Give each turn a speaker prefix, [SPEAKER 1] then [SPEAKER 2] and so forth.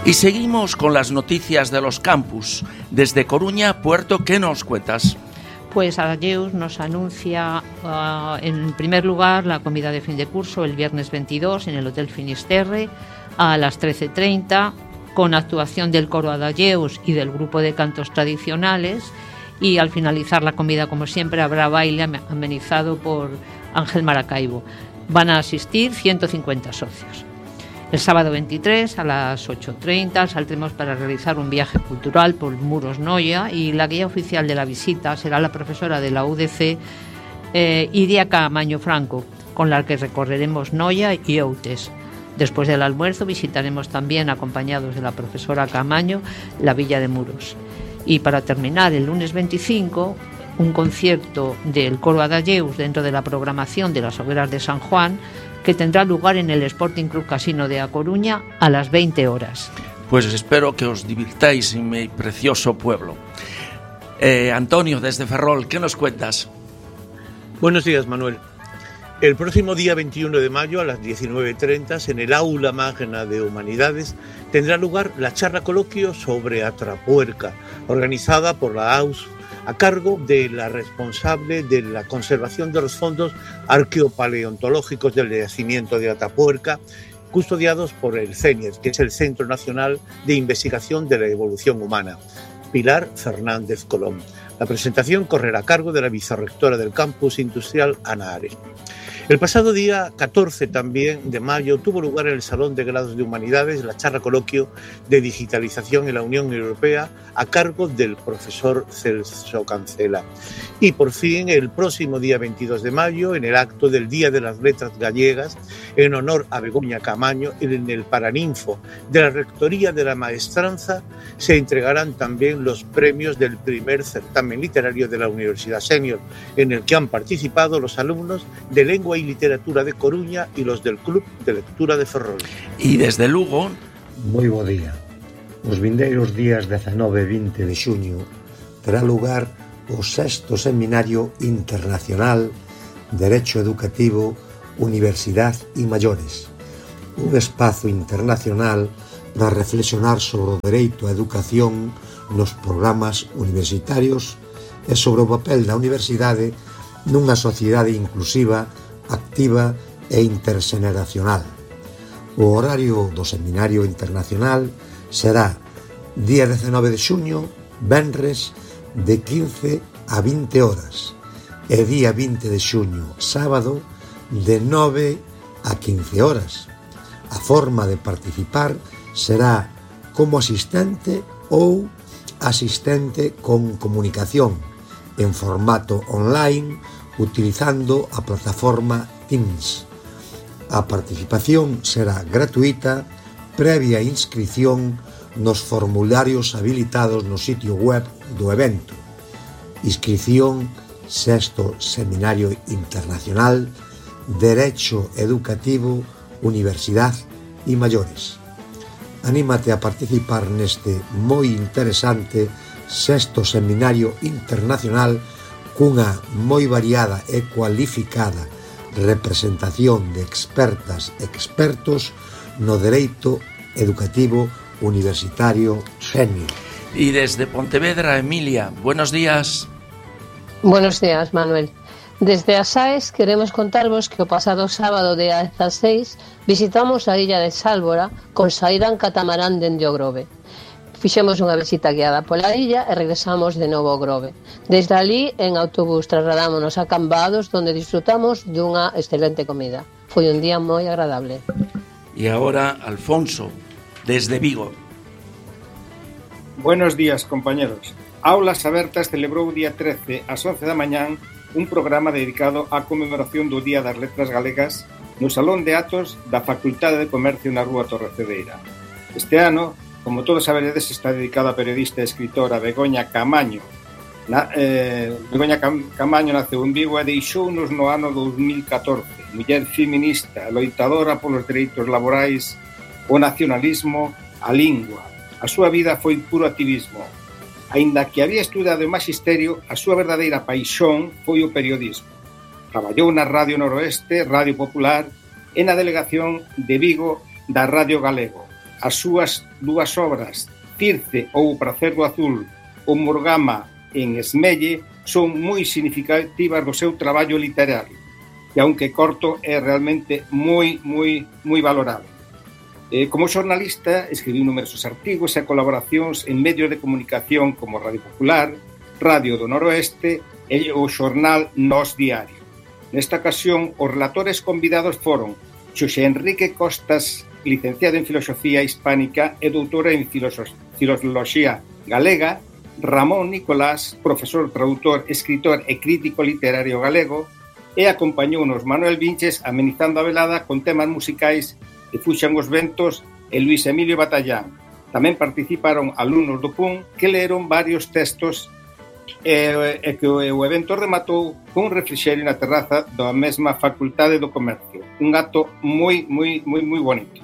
[SPEAKER 1] Y seguimos con las noticias de los campus. Desde Coruña, Puerto, ¿qué nos cuentas?
[SPEAKER 2] Pues Adayeus nos anuncia, en primer lugar, la comida de fin de curso el viernes 22 en el Hotel Finisterre a las 13:30, con actuación del coro Adayeus y del grupo de cantos tradicionales. Y al finalizar la comida, como siempre, habrá baile amenizado por Ángel Maracaibo. Van a asistir 150 socios. El sábado 23 a las 8:30 saldremos para realizar un viaje cultural por Muros Noia, y la guía oficial de la visita será la profesora de la UDC, Iria Caamaño Franco, con la que recorreremos Noia y Outes. Después del almuerzo visitaremos también, acompañados de la profesora Caamaño, la villa de Muros. Y para terminar, el lunes 25, un concierto del coro Adayeus dentro de la programación de las Hogueras de San Juan, que tendrá lugar en el Sporting Club Casino de A Coruña a las 20 horas.
[SPEAKER 1] Pues espero que os divirtáis en mi precioso pueblo. Antonio, desde Ferrol, ¿qué nos cuentas?
[SPEAKER 3] Buenos días, Manuel. El próximo día 21 de mayo a las 19:30 en el Aula Magna de Humanidades tendrá lugar la charla coloquio sobre Atapuerca, organizada por la AUS, a cargo de la responsable de la conservación de los fondos arqueopaleontológicos del yacimiento de Atapuerca, custodiados por el CENIES, que es el Centro Nacional de Investigación de la Evolución Humana, Pilar Fernández Colón. La presentación correrá a cargo de la vicerrectora del campus industrial, Ana Are. El pasado día 14 también de mayo tuvo lugar en el Salón de Grados de Humanidades la charla coloquio de digitalización en la Unión Europea a cargo del profesor Celso Cancela. Y por fin, el próximo día 22 de mayo, en el acto del Día de las Letras Gallegas, en honor a Begoña Caamaño, en el Paraninfo de la Rectoría de la Maestranza, se entregarán también los premios del primer certamen literario de la Universidad Senior, en el que han participado los alumnos de Lengua y Literatura de Coruña y los del Club de Lectura de Ferrol.
[SPEAKER 1] E desde Lugo...
[SPEAKER 4] Moi bo día. Os vindeiros días 19 e 20 de xuño terá lugar o 6º Seminario Internacional Derecho Educativo, Universidad e Maiores, un espazo internacional para reflexionar sobre o dereito á educación nos programas universitarios e sobre o papel da universidade nunha sociedade inclusiva, activa e interxeneracional. O horario do Seminario Internacional será día 19 de xuño, venres, de 15 a 20 horas, e día 20 de xuño, sábado, de 9 a 15 horas. A forma de participar será como asistente ou asistente con comunicación en formato online, utilizando a plataforma Teams. A participación será gratuita, previa inscrición nos formularios habilitados no sitio web do evento. Inscrición 6º Seminario Internacional Derecho Educativo, Universidad e Maiores. Anímate a participar neste moi interesante 6º Seminario Internacional cunha moi variada e cualificada representación de expertas e expertos no dereito educativo universitario senior.
[SPEAKER 1] Y desde Pontevedra, Emilia, buenos días.
[SPEAKER 5] Buenos días, Manuel. Desde as AES queremos contarvos que o pasado sábado día 16 visitamos a illa de Sálvora con saída en catamarán dende o Grove. Fixemos unha visita guiada pola illa e regresamos de novo ao Grove. Desde ali, en autobús, trasladámonos a Cambados, donde disfrutamos dunha excelente comida. Foi un día moi agradable.
[SPEAKER 1] Y ahora, Alfonso, desde Vigo.
[SPEAKER 6] Buenos días, compañeros. Aulas Abertas celebrou o día 13 ás 11 da mañán un programa dedicado á conmemoración do Día das Letras Galegas no Salón de Atos da Facultade de Comercio na Rúa Torrecedeira. Este ano, como todos saberedes, está dedicado á periodista e escritora Begoña Caamaño. Begoña Caamaño naceu en Vigo e deixounos no ano 2014. Muller feminista, loitadora polos dereitos laborais, o nacionalismo, a lingua. A súa vida foi puro activismo. Aínda que había estudado o maxisterio, a súa verdadeira paixón foi o periodismo. Traballou na Radio Noroeste, Radio Popular e na delegación de Vigo da Radio Galego. as súas dúas obras, Circe ou Pracer do Azul ou Morgama en Esmelle, son moi significativas do seu traballo literario, que aunque corto é realmente moi valorado. Como xornalista escribiu numerosos artigos e colaboracións en medios de comunicación como Radio Popular, Radio do Noroeste e o xornal Nós Diario. Nesta ocasión, os relatores convidados foron Xosé Enrique Costas, licenciado en Filosofía Hispánica e doutora en Filoloxía Galega, Ramón Nicolás, profesor, tradutor, escritor e crítico literario galego, e acompañounos Manuel Vinches amenizando a velada con temas musicais que Fuxan os ventos e Luis Emilio Batallán. Tamén participaron alumnos do PUN que leron varios textos e que o evento rematou con un refrixerio na terraza da mesma Facultade do Comercio. Un acto moi bonito.